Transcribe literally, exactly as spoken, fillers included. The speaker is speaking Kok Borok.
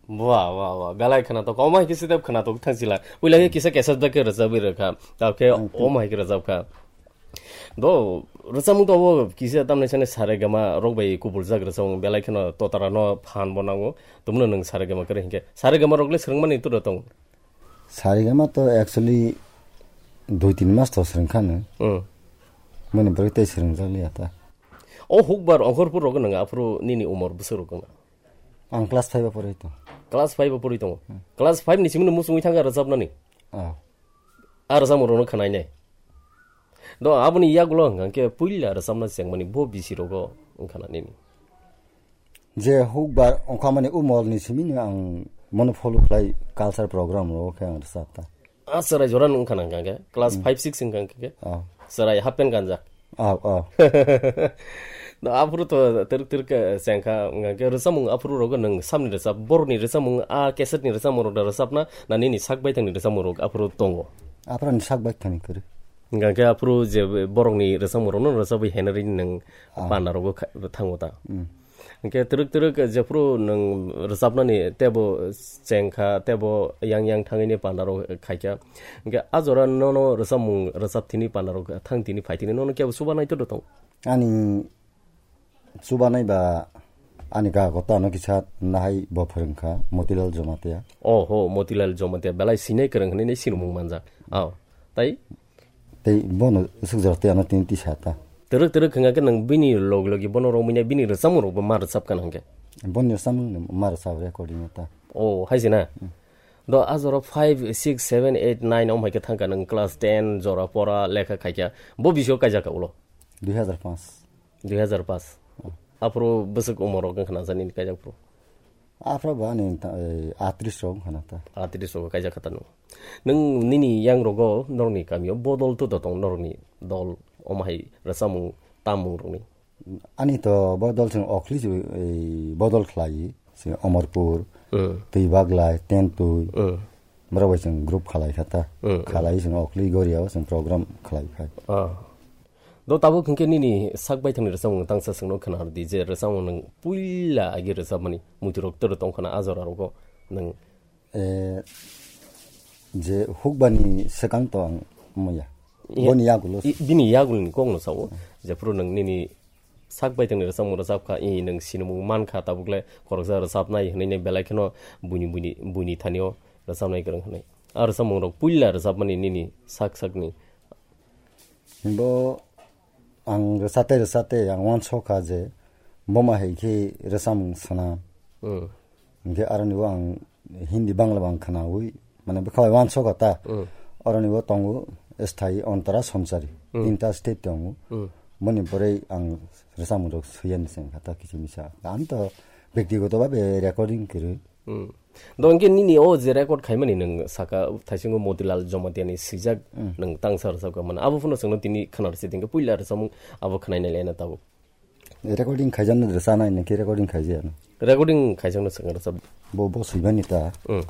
Wah, wah, wah. Belai khwnatok. Omo hai khe step khwnatok thang sila. Puila khe kisa cassette bai khe rwchapwi rwkha. Tao khe omo hai khe rwchapkha. Do, rwchapmung to obo kisa tamni sani saregama rok bai kubuljak rwchapmung. Belai kheno totara no phan bo nango. Tumno nwng saregama kwrwi hinkhe. Saregama rok le swrwngmani turo tong. Saregama to actually dui tin mas to swrwngkha no. Hmm. Mani bwrwi tei swrwngjak liya ta. O hukbar ongkhorpur rok nwng aphuru nini umor bwswk rok wngna? Ang class five o pori tong. Class five o pori tongo. Hmm. Class five ni simi no muchungwi thangkha rwchapnani? Ah. A rwchapmung rokno khwnainai. Do, aboni yagulo hwnkha khe puila rwchapna chengmani bo bisi rogo wngkha na nini? Je hukbar ongkhamani umor ni simi no ang mono follow khlai culture program rogo khe ang rwchap ta. A chwrai jora no wngkha na hwnkha khe class five six wngkha khe. Ah. Chwrai half pant ganjak. Ah, ah. No, aphuru to twrwk twrwk khe chengkha, hwnkha khe rwchapmung aphuru rogo nwng samni rwchap, borokni rwchapmung, a cassette ni rwchapmung rok da rwchapna, na nini sak baithangni rwchapmung rok aphuru tongo? Aphuru ni sak baithangni kwrwi. Hwnkha khe aphuru je borokni rwchapmung rokno rwchapwi henari nwng panda rogo kha-, thango ta. Hmm. Hwnkhe twrwk twrwk jephuru nwng rwchapnani tebo chengkha, tebo yang yang thangwini panda rok khaikha. Hwnkhe a jora nono rwchapmung rwchap thini panda rok thang thini phai thini nono kebo chubanai to tong? Ani chubanai ba ani ga gota no kisa nahai bo phwrwngkha Motilal Jamatia. Oh ho, Motilal Jamatia belai sinai kwrwng hinwi sinimung manjak. Oh, tai? Tei bono swkjak tei ano tini tisa ta. Twrwk twrwk hwnkha khe nwng bini log logi bono romwi nai bini rwchapmung rokbo ma rwchapkha na hwnkhe? Boni rwchapmung no ma rwchap recording o ta. Oh, hai se na? Hmm. Do a jora five, six, seven, eight, nine om hai khe thangkha nwng class ten jora pora lekha khaikha. Bo bisio kaijakha ulo? Dui hazar paanch. Dui hazar paanch. Hmm. Aphuru bwswk umor rok wngkha na jani kaijak phuru? Aphuru bo ani ta-, eh, atris rok wngkha na ta. Atris rok kaijakha ta nwng. Nwng nini yang rogo norokni kamio bodol to dotong norokni dol omo hai rwchapmung tamung rokni? Ani to bodol chwng Okhli chwng, eh, bodol khlai chwng Omorpur, Hmm. Twi Baglai, Tentwi. Hmm. Borok bai chwng group khalai kha ta. Hmm, hmm. Khalai chwng Okhli Goria o chwng program khalai khai. Ah. Do tabuk hwnkhe nini sak baithangni rwchapmung tangsa chwngno khwna rwdi je rwchapmung nwng puila agi rwchapmani muitu rok toro tongkha na a jora rogo nwng Eh, je hukbani swkang to ang muya. Iya. Boni yagulo. I-, bini yagulni kokno sao. Hmm. Jephuru nwng nini sak baithangni rwchapmung rwchapkha, i nwng sinimung mankha, tabukle khoroksa rwchapnai hwnwi nai belai kheno buini, buini, buini thanio rwchapnai kwrwng hwnwi. A rwchapmung rok puila rwchapmani nini sak sakni. Bo ang rwchate rwchate ang uansukha je boma hai khe rwchapmung swnam. Hmm. Hingke aroni bo ang Hindi, Bangla bo ang khwnaui, mane bwkha bai uansukha ta. Hmm. Aroni bo tongo sthai, ontara, songsari. Hmm. Tinta state tongo. Hmm. Boni pore ang rwchapmung rok suyani se wngkha ta kisa misa. Ang to bektigoto bhabe recording kwrwi. Hmm. Do hingke nini o je record khaimani nwng saka thaisingo Motilal Jamatia ni swijak Hmm. nwng tangsa rwchapkha mane. Abo phano chwngno tini khwna rwsi tingkhe puila rwchapmung abo khwnainai laina tabuk. Recording khaijakno rwchanai, nangkhe recording khaijaya no? Recording khaijakno swkang rwchap. Bo, bo swibani ta. Hmm.